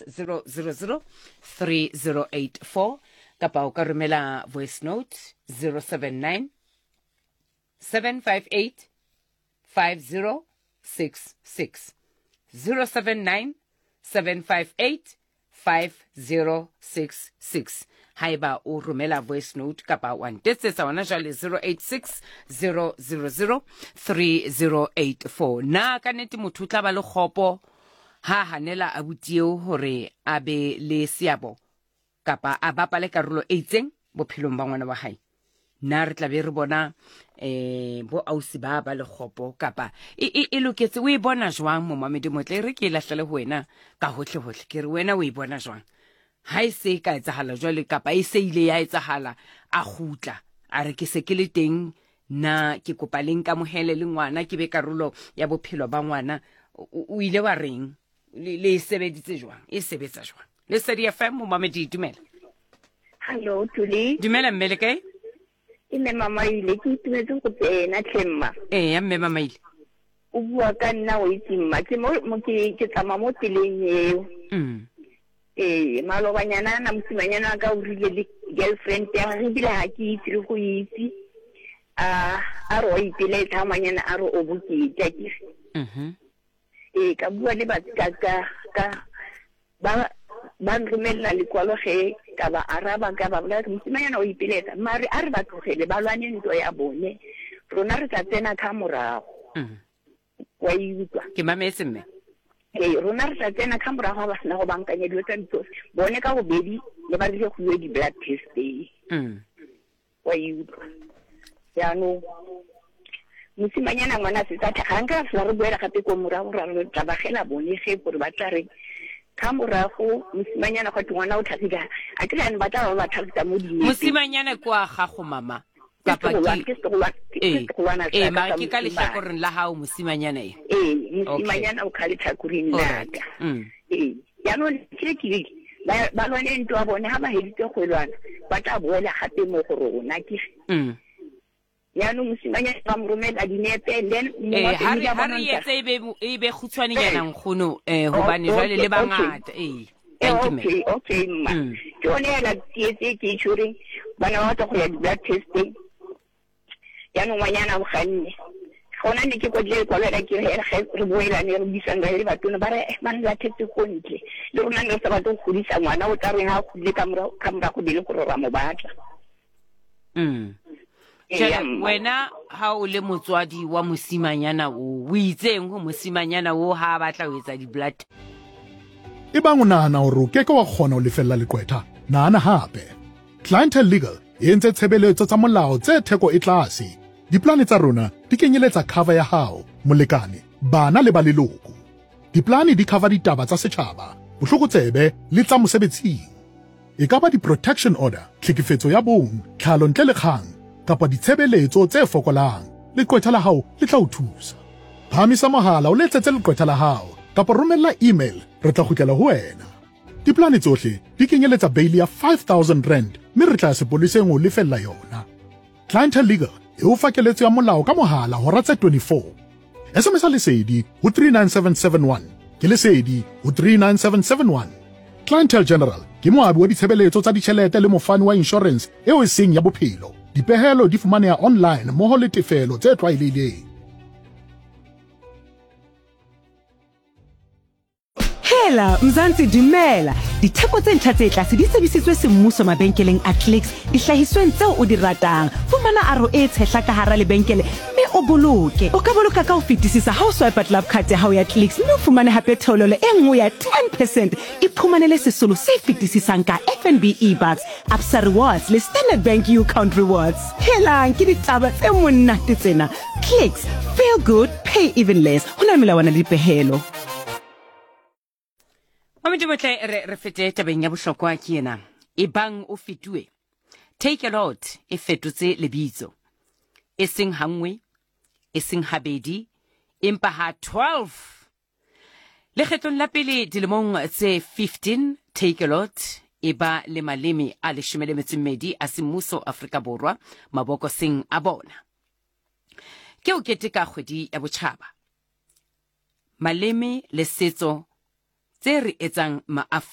000 3084 kapa o ka romela voice note 079 758 5066 079 758 5066 haeba o romela voice note kapa wa ntetsetsa ona jwale 086 000 3084 na ka nete motho o tla ba le kgopo ha hanela abuti eo hore a be le seabo kapa a bapale karolo e itseng bophelong ba ngwana wa hae na re tla be re bona eh bo ausi ba ba lekgopo kapa e, e, e loketse o e bona jwang momamedi motle e re ke e lahlele ho wena ka hohle hohle ke re wena o e bona jwang ha e se e ka etsahala jwale kapa e se ile ya etsahala a kgutla a re ke se ke le teng na ke kopa le nkamohele le ngwana ke be karolo ya bophelo ba ngwana o ile wa reng le e sebeditse jwang e sebetsa jwang Lesedi FM momamedi dumela. Hallo Tuli. Dumela mme le kae? Ke mme Mamaile ke itumetse go tsena tlhe mma. Ee ya mme Mamaile. O bua ka nna o itse mma ke mo mo ke ke tsamaya mo tseleng eo. Mm. Ee malobanyana na mosimanyana wa ka o rile le girlfriend ya gagwe ebile ga ke itse le go itse. A a re wa ipelaetsa ngwanyana a re o bokete akere. Mhm. Ee ka bua le ba ka ka ka ba ba nromelela lekwalo ge ka ba araba ka ba bolela mosimanyana o ipeletsa mare a re ba tlogele ba lwane ntwa ya bone rona re tla tsena ka morago mm. wa e utlwa ke mametse mme ee rona re tla tsena ka morago ga ba sena go bankanya dilo tsa ditsofe bone ka bobedi le ba rile go iwe di-blood testeng mm. wa e utlwa jaanong mosimanyana ngwana a setse a ga nka fela re boela gape ko morago ra re tla bagela bone ge gore ba tla re ka morago mosimanyana gwa ngwana o tlhagile a ke ba tla ba ba tlhagisa mo dinepeng mosimanyana ke wa gago mama kapa ke ee ee mara ke ka lehlakoreng la gago mosimanyana e ee mosimanyana o ka letlhakoreng la ka mm. ee jaanong ke ke ba ba lwane ntwa bone ha ba heditse go lwana ba tla boela gape mo go rona ke mm. yaanong mosimanyana ba mo romela dinepe and then eh, ha re etse e be e be khutshwanenyana eh. nkgono um gobane jwale le bangata ee thank you okay okay mma mm. ke yone ela tsietse ke itshwereng bana ba batla go ya di-blood testing jaanong ngwanyana o ganne gona ne ke kwadile lekwalo ela ke re ge re boelane re buisang re le batona ba re eh, ba ne lathetse ko ntle le rona ne re sa batle go godisa ngwana o tla reng ha a godile ka morago be le gore ra mo batla mm. wena ha o le motswadi wa mosimanyana o o itseng go mosimanyana o ha a batla ho etsa di-blood Ebang o nahana hore o ke ke wa kgona ho lefella leqwetha, nahana hape. Clientele Legal e entse tshebeletso tsa molao tse theko e tlase. Diplane tsa rona di kenyeletsa cover ya hao, molekane, bana le ba leloko. Diplane di cover ditaba tsa setjhaba, bohlokotsebe le tsa mosebetsing. E ka ba di-protection order, tlhekefetso ya bong, tlhalo ntle le kgang, kapa ditshebeletso tse fokolang, leqwetha la hao le tla o thusa. Phahamisa mohala o letsetse leqwetha la hao kapa romella email re tla kgutlela ho wena. Diplane tsohle di kenyeletsa beili ya 5000 rand mme re tla ya sepoleseng ho lefella yona. Clientele Legal e o fa keletso ya molao ka mohala hora tse 24. SMS Lesedi ho 39771. Ke Lesedi ho 39771. Clientele General ke moabi wa ditshebeletso tsa ditjhelete le mofani wa inshorense eo e seng ya bophelo. Dipehelo di fumaneha online mmoho le tefelo tse tlwaelehileng. Hela Mzansi dumela. Ditheko tse ntjha tse tlase di tsebisitswe semmuso mabenkeleng a Clicks dihlahisweng tseo o di ratang. Fumana aro e tshehla ka hara lebenkele mme o boloke. O ka boloka ka ho fetisisa ha o swipe Club Card ya hao ya Clicks mme o fumane hape theolelo e nngwe ya 10 percent. Iphumanele sesolo se fetisisang ka FNB eBucks, Absa Rewards le Standard Bank U-Count Rewards. Helang ke ditaba tse monate tsena. Clicks, feel good, pay even less. Ho na le melawana le dipehelo. Mamedi motle re re fete tabeng ya bohlokwa ke ena. Ebang o fetuwe. Take a lot e fetotse lebitso. E seng hanngwe, e seng habedi, empa ha 12. Lekgetlong la pele dilemong tse 15 Take a lot e ba le maleme a leshome le metso mmedi a semmuso Afrika Borwa mabokoseng a bona. Ke o keteka kgwedi ya botjhaba. Maleme le setso tse re etsang Maafrika.